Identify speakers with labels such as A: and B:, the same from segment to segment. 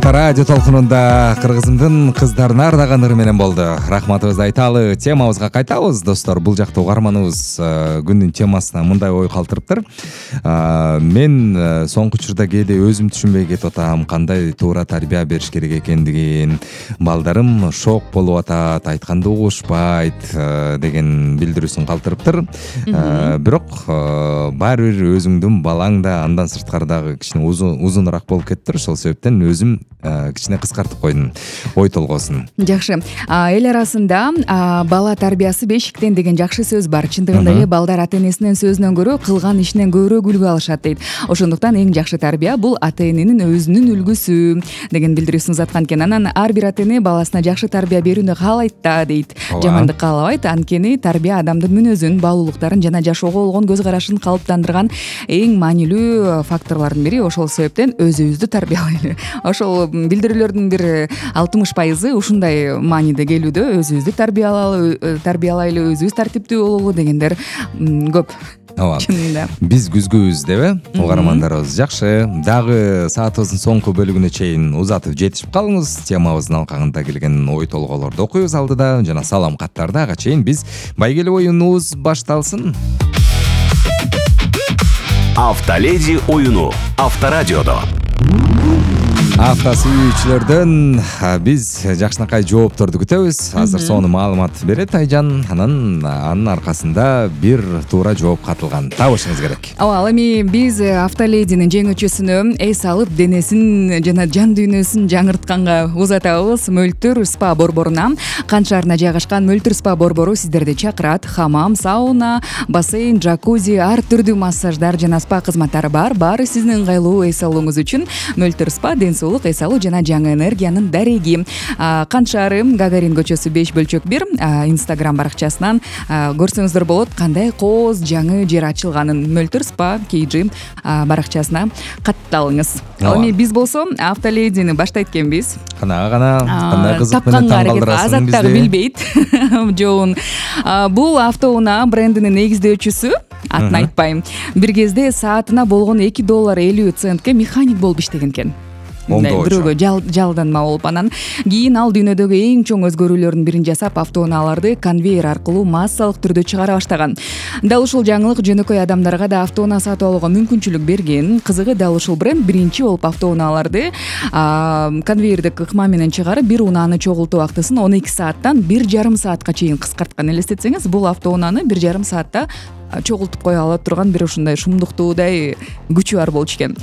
A: Радио толкунунда кыргызымдын кыздарына ардаган ыры менен болду. Рахматыбызды айталы. Темабызга кайтабыз, достор. Бул жакта угарманыбыз күндүн темасына мындай ой калтырыптыр. Мен соңку учурда кээде өзүм түшүнбөй кетип атам, кандай туура тарбия бериш керек экендигин. Балдарым шок болуп атат, айтканды угушпайт деген билдирүүсүн калтырыптыр. Бирок баары бир өзүңдүн балаң да андан сырткары дагы кичине узунураак болуп кетиптир. Ошол себептен өзүм кичине кыскартып койдум ой толгоосун.
B: Жакшы. Эл арасында бала тарбиясы бешиктен деген жакшы сөз бар. Чындыгында эле балдар ата-энесинин сөзүнөн көрө кылган ишинен көбүрөөк үлгү алышат дейт. Ошондуктан эң жакшы тарбия бул ата-эненин өзүнүн үлгүсү деген билдирүүсүн узаткан экен. Анан ар бир ата-эне баласына жакшы тарбия берүүнү каалайт да дейт. Жамандык каалабайт. Анткени тарбия адамдын мүнөзүн, баалуулуктарын жана жашоого болгон көз карашын калыптандырган эң маанилүү факторлордун бири. Ошол себептен өзүбүздү тарбиялайлы. Ошол билдирүүлөрдүн бир 60% ушундай мааниде келүүдө. Өзүбүздү тарбиялайлы, өзүбүз тартиптүү бололу дегендер көп. Чынында.
A: Биз күзгүбүз деп угармандарыбыз. Жакшы. Дагы саатыбыздын соңку бөлүгүнө чейин узатып жетишип калыңыз. Темабыздын алкагында келген ой толгоолорду окуйбуз алдыда жана салам каттарды. Ага чейин биз байгеле оюнубуз башталсын.
C: Автоледи оюну Авторадиодо.
A: Авто сүйүүчүлөрдөн биз жакшынакай жоопторду күтөбүз. Азыр сону маалымат берет Айжан. Анын аркасында бир туура жооп катылган. Табышыңыз керек.
B: Ал эми биз автолединин жеңүүчүсүнө эс алып денесин жана жан дүйнөсүн жаңыртканга узатабыз. Мөлтүр спа борборуна. Кан шаарына жайгашкан Мөлтүр спа борбору сиздерди чакырат. Хамам, сауна, бассейн, джакузи, ар түрдүү массаждар жана спа кызматтары бар. Баары сиздин ыңгайлуу эс алууңуз үчүн. Мөлтүр спа эс алуу жана жаңы энергиянын дареги. Кан шаары, Гагарин көчөсү 5/1 Instagram баракчасынан көрсөңүздөр болот кандай кооз жаңы жер ачылганын. Мөлтүр спа KG баракчасына катталыңыз. Ал эми биз болсо автоледини баштайт экенбиз.
A: Кандай кызык менен таңкалдырасың бизди.
B: Азат дагы билбейт жоон. Бул автоунаа брендинин негиздөөчүсү. Атын айтпайм. Бир кезде саатына болгон $2.50 механик болуп иштеген экен. Бирөөгө жалданма болуп, анан кийин ал дүйнөдөгү эң чоң өзгөрүүлөрдүн бирин жасап, автоунааларды конвейер аркылуу массалык түрдө чыгара баштаган. Дал ушул жаңылык жөнөкөй адамдарга да автоунаа сатып алууга мүмкүнчүлүк берген. Кызыгы, дал ушул бренд биринчи болуп автоунааларды конвейердик ыкма менен чыгарып, бир унааны чогултуу убактысын 12 сааттан 1,5 саатка чейин кыскарткан. Элестетсеңиз, бул автоунааны 1,5 саатта чогултуп кое ала турган бир ушундай шумдуктуудай күчү бар болчу экен.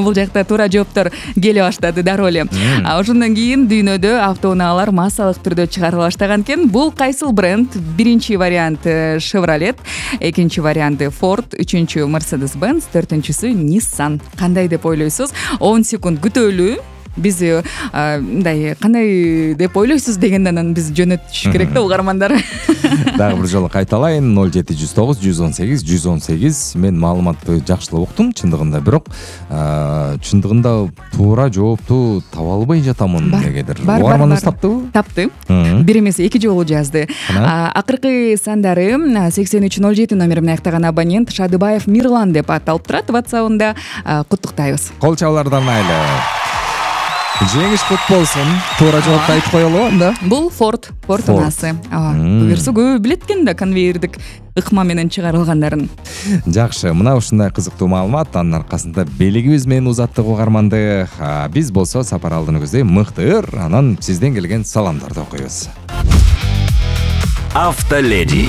B: Бул жакта туура жооптор келе баштады дароо эле. Ошондон кийин дүйнөдө автоунаалар массалык түрдө чыгарыла баштаган экен. Бул кайсыл бренд? Биринчи вариант Chevrolet, экинчи вариант Ford, үчүнчү Mercedes-Benz, төртүнчүсү Nissan. Кандай деп ойлойсуз? 10 секунд күтөлүү. Биз мындай кандай деп ойлойсуз дегенден биз жөнөтүш керек да угармандар.
A: Дагы бир жолу кайталайын. 0709 118 118. Мен маалыматты жакшылап уктум чындыгында, бирок чындыгында туура жоопту таба албай жатамын дегедир. Угарманыбыз таптыбы?
B: Тапты. Бир эмес, эки жолу жазды. Акыркы сандары 8307 номери менен аяктаган абонент Шадыбаев Мирлан деп аталып турат WhatsApp-ында. Куттуктайбыз.
A: Кол чабуулардан айлы. Жеңиш кут болсун. Туура жоопту айтып коелу анда.
B: Бул Ford унасы. Буюрса көп билет экен да конвейердик ыкма менен чыгарылгандарын.
A: Жакшы, мына ушундай кызыктуу маалымат. Анын аркасында белигибиз менен узаттык угарманды. Биз болсо сапар алдыны көздөй мыктыр. Анан сизден келген саламдарды окуйбуз.
C: Автоледи.